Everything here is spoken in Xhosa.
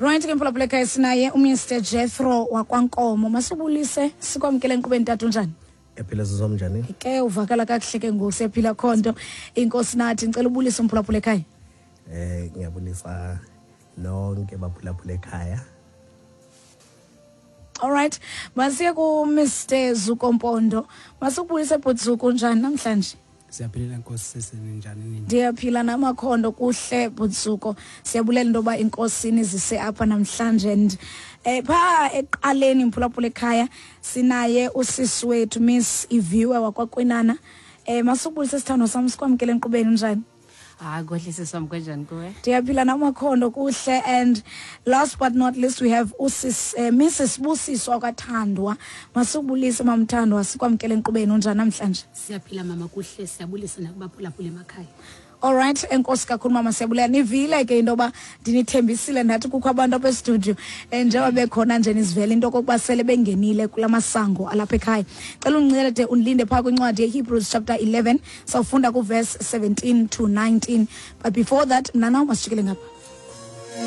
Right ke, mphulaphula ekhaya, sinaye uMr Jethro wakwaNkomo. Masibulise, sikwamkele enkqubeni, tata. Unjani? Ephila sizom, njani? Ke uvakala kakuhle ke ngoku, siyaphila khonto inkosi nathi. Ndicela ubulise umphulaphula ekhaya. Ngiyabulisa nonke baphulaphula ekhaya. Alright, masiye ku-Mr Zuko Mpondo. Masikubulise, bhuti Zuko, njani namhlanje? Siyaphilela, nkosi sisi, ninjani nini? Ndiyaphila namakhondo, kuhle, bhuti Zuko. Siyabulela into yoba inkosi nizise apha namhlanje. And phaa ekuqaleni, mphulaphula ekhaya, sinaye usisi wethu Miss Iviwe wakwaKwinana. Masubulise, sithandwa sam, sikwamkele enkqubeni. Njani? Hayi, kuhle sisi wam, kunjani kuwe? Ndiyaphila namakhondo, kuhle. And last but not least, we have usis Mrs Busiswa kwaThandwa. Masubulise, mamthandwa, sikwamkele enkqubeni. Unjani namhlanje? Siyaphila mama, kuhle. Siyabulisa nakubaphulaphula emakhaya. Alright, enkosi kakhulu mama, siyabulela. Nivile ke into yoba ndinithembisile, ndathi kukho abantu apha estudio, njengoba bekhona nje nizivela into okokuba sele bengenile kula masango alapha ekhaya. Cela undincede undilinde phaa kwincwadi yeHebrews chapter 11, sawufunda kuverse 17 to 19, but before that, mna naw masijikele ngapha.